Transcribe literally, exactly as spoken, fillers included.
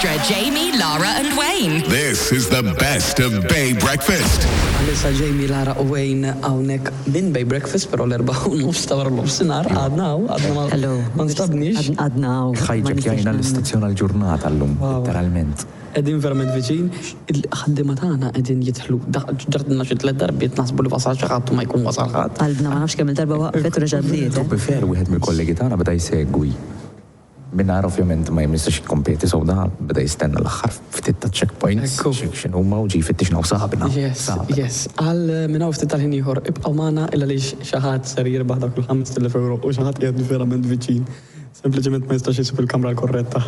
Extra, Jamie, Lara, and Wayne. This is the best of Bay Breakfast. Għalissa Jamie, Lara u Wayne hawnhekk minn Bay Breakfast, però l-erbgħa u nofs ta' wara nofsinhar għadna hawn, għadna ma Hello. ma nstabniex. Għadna hawn. Ħajġekjajna l-istazzjon għal-ġurnata llum, literalment. Qegħdin verament viċin, il-ħaddiema tagħna qegħdin jidħlu, ġartna xi tliet darbiet naħsbu li wasal xi ħadd u ma jkun wasal ħadd. Qalbna ma nafx kemm il-darba waqfet u reġa' bdiet. To be fair, wieħed mill-kollegi tagħna beda jsegwi. Minnar ovvjament ma jistax jikkompeti, so da beda jistenna l-aħħar ftit ta' checkpoints. Ekku. X'inhuma u ġi fittixna u sabna. Yes, Sabna. yes. Għal minn hawn ftit tal-ħin ieħor ibqgħu magħna illa li xi ħadd ser jirbaħ dak il-ħamest elef euro u xi ħadd qiegħed verament viċin. Sempliċement ma jistax isib il-kamra l-korretta.